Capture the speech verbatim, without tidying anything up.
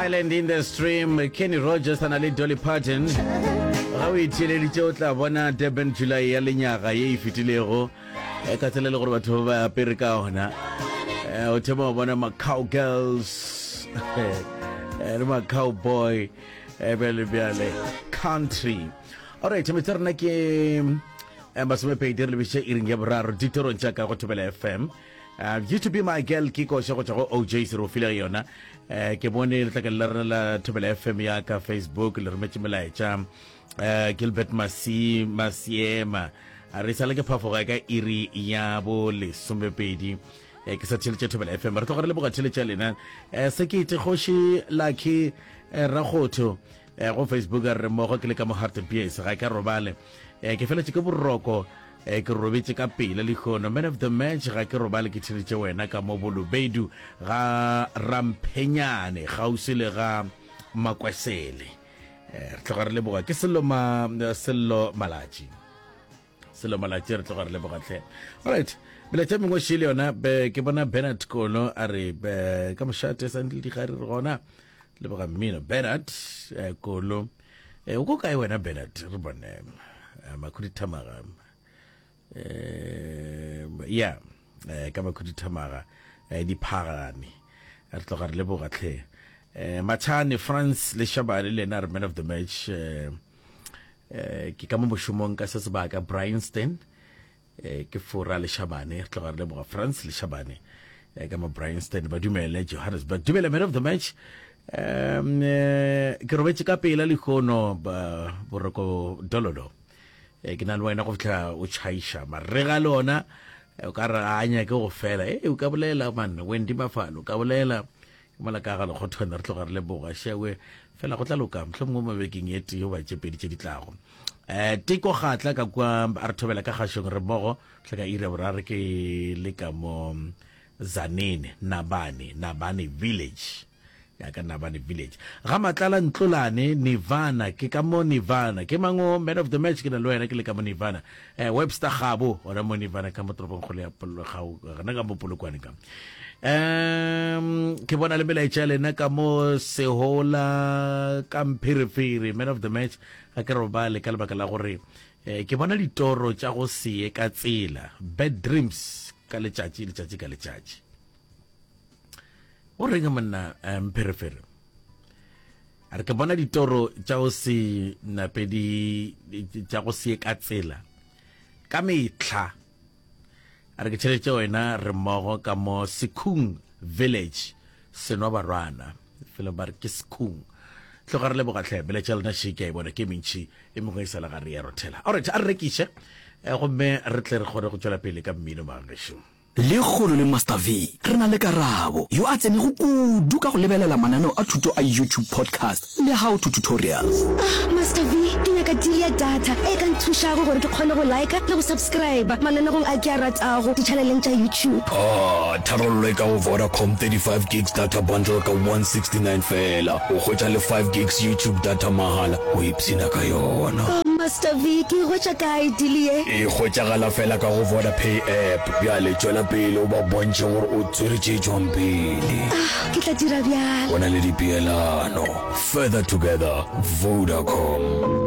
Island in the Stream, Kenny Rogers a na le Dolly Parton. Ga o itheeleditše o tla bona Durban July ya lenyaga ye e fetilego eh, ka tsela e le gore batho ba ba apere ka ona. Eh, o thoma go bona ma-cowgirls eh, le ma-cowboy eh, bjale bjale country. Alright, metsa rena ke eh, masomepedi re lebišitše iring ya boraro ditorong tša ka go Thobela F M. Uh, "Used to Be My Girl" ke koša go tšwa go O J se re o file yona. uh, ke bone letlakeng la rena la Thobela F M ya ka Facebook le rometše melaetša. uh, Gilbert Masi Masiema a re sale ke phafoga ka iri ya bo lesomepedi eh, ke sa theletše Thobela F M. Re tloga re leboga theletše ya lena. eh, sekete Kgoši Lucky eh, Rakgotho eh, go Facebook a re mmogo ke le ka mo Hartbees, ga ke robale, eh, ke feletše ke boroko, eh, ke robetše ka pele lehono. Man of the match, ga ke robale ke theletše wena ka mo Bolobedu ga Ramphenyane kgauswi le ga Makwesele. eh, re tloga re leboga. Ke Sello ma Sello Malatši, Sello Malatši, re tloga re leboga tlhe. Alright, melaetša mengwe šele yona be ke bona Bernard Kolo a re be, ka mošate sa ntle digare re gona, leboga mmino. Bernard eh, Kolo, eh, o ko kae wena Bernard? Re bone eh, Makhuduthamaga, eh, ya eh, ka Makhuduthamaga eh, diphagane, re tloga re leboga tlhe. eh, Machane France le Shabane le ena a re man of the match, eh, eh, ke ka mo mošomong ka se sebaka Bryanston, eh, ke fora le Shabane. Re tloga re leboga France le Shabane eh, ka mo Bryanston, ba dumele Johannesburg. Dumele man of the match, um eh, ke robetše ka pela lehono ba boroko dololo, eh, ke na le wena go fihla o tšhaiša marega le ona, eh, o ka re a nyake go fela. E o ka bolela man Wendy Mafalo, o ka bolela ke mola ka ga lekgothwane. Re tloga re leboga šewe fela go tla loka mohlomongwe mo bekeng e tee goba tše pedi tše di tlago. um teko gatla ka kua a re thobela ka kgašong, re mmogo tlha ka iri ya boraro, ke le ka mo Zanene Nabane, Nabane Village ya ka Nabane Village ga Matlala Ntlolane Nirvana, ke ka mo Nirvana. Ke mango man of the match, ke na le wena ke le ka mo Nirvana. eh, Webster Gabo gona mo Nirvana ka mo toropong kgolo ya gona ka mo Polokwane ka. um ke bona le melaetša ya lena ka mo Sehola ka Mpherefere. Man of the match, ga ke robale ka lebaka la gore eh, ke bona ditoro tša go seye ka tsela, bad dreams ka letšatši letšatši ka letšatši. O reng monna Mpherefere? A re ke bona ditoro tša go se nape di tša go se ka tsela ka mehla. A re ke tšhelete wena, re mmogo ka mo Sekhung Village, Senwa Barwana felo ba re ke Sekhung. Tloga re leboga tlhe melaetša lena šeke a e bona ke mentšhi e mengwe e sa le gare ya rothela. Alright, a re rekiše eh, gomme re tle re kgone go tšwela pele ka mmino magešo. Lekgono le Master V re na le Karabo, yo a tsenego kudu ka go lebelela mananeo a thuto a YouTube podcast le how to tutorials. Ah, Master V, ke nyaka deal ya data e ka nthušago gore ke kgone go liker le go subscriber mananegong a ke a ratago di-channeleng tša YouTube. Ah, tharollo e ka go Vodacom thirty-five gigs data bundle ka one sixty-nine fela. O hwetša le five gigs YouTube data mahala, o ipshina ka yona. Oh, Master V, ke e hwetša kae deal ye? E hwetšagala fela ka go VodaPay app. Bjale tšwela pele o ba bontšhe gore o tswere tše tšwang pele. Ah, ke tla dira bjalo. Go na le dipeelano. Further together, Vodacom.